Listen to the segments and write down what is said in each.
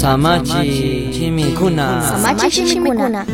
Samachi shimikuna. Samachi shimikuna.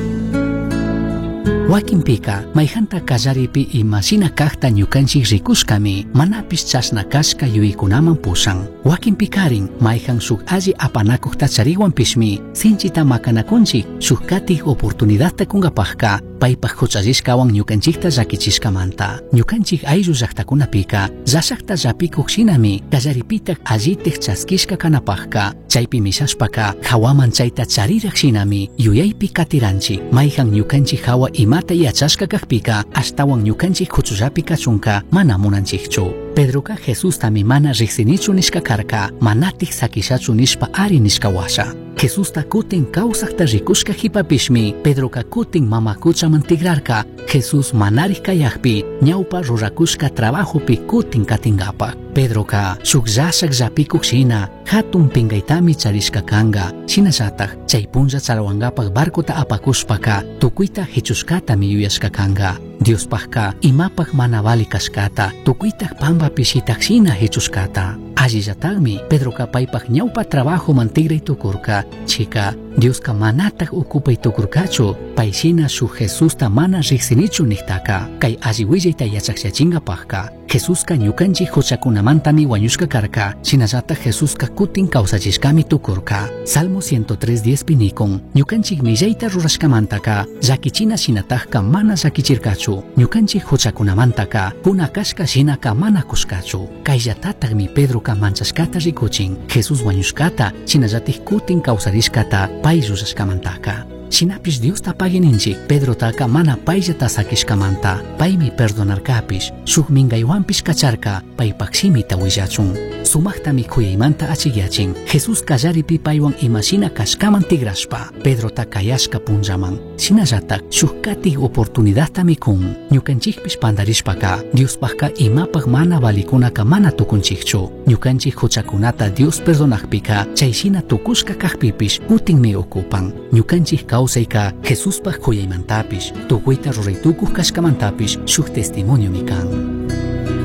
Wakinpika mayhanta kallaripi imashina kaqta ñukanchik rikushkami manapish chashna kashka yuyaykunaman pushan. Wakinpikarin mayhan shuk alli apanakuqta chariwanpishmi sinchita makanakunchik shuk katik oportunidadta kunkapaqka paypaq huchallishkawan ñukanchikta llakichishkamanta. Ñukanchik ayllu llaqtakunapika llashaqta llapikuq shinami kallaripitaq allitik chaskishka kanapaqka chaypi mishashpaka hawaman chayta chariraq shinami yuyaypi katiranchik mayhan ñukanchik hawa imata yachashka kaqpika ashtawan ñukanchik huchullapi kachunka mana munanchikchu. Pedroka Jesustami mana riqsinichu nishka karka manatik sakishachu nishpa ari nishka washa. Jesusta kutin kawsaqta rikushka hipapishmi Pedroka kutin mama kuchaman tigrarka Jesús manarij kayaqpi ñawpa rurakushka trabajopi kutin katingapaq. Pedroka shuk llashaq llapikuq shina hatun pinkaytami charishka kanka shinallataq chay punlla chalawankapaq barcota apakushpaka tukuyta hichushkatami yuyashka kanka. Diospaqka imapaq mana vali kashkata tukuytaq pampapi shitaq shina hichushkata. Allillataqmi Pedroka paypaq ñawpa trabajoman tigray tukurka chika Dioska manataq ukupay tukurkachu pay shina shuk Jesusta mana riqsinichu niqtaka kay alli willayta yachaqllachinkapaqka Jesuska ñukanchik huchakunamantami wañushka karka shinallataq Jesuska kutin kawsachishkami tukurka. Salmo 103.10 pi nikun ñukanchik millayta rurashkamantaka llakichina shinataqka mana llakichirkachu ñukanchik huchakunamantaka kuna kashka shinaka mana kushkachu. Kayllatataqmi Pedroka manchashkata rikuchin Jesús wañushkata shinallatik kutin kawsarishkata pay rurashkamantaka. Shinapish Diosta paguininchik Pedrotaka mana payllata sakishkamanta paymi perdonarkapish shuk minkaywanpish kacharka paypak shimita willachun. Sumaqtami kuyaymanta achikyachin Jesús kallaripi paywan imashina kashkaman tigrashpa Pedrota kayashka punllaman shinallatak shuk katik oportunidadtami kun ñukanchikpish pandarishpaka Diospaqka imapaq mana valikunaka mana tukunchikchu ñukanchik huchakunata Dios perdonaqpika chayshina tukushka kaqpipish kutinmi ukupan ñukanchik kawsayka Jesuspaq kuyaymantapish tukuyta ruraytukuq kashkamantapish shuk testimoniomi kan.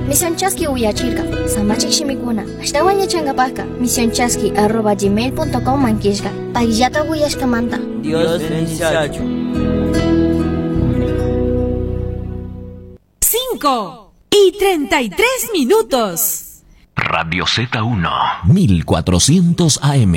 Misión Chaski uyachirka samachik shimikuna ashtawan yachankapaqka misionchaski@gmail.com mankishka payllata uyashkamanta. Dios bendiciachu. 5:33 minutos. Radio Z1 1400 AM.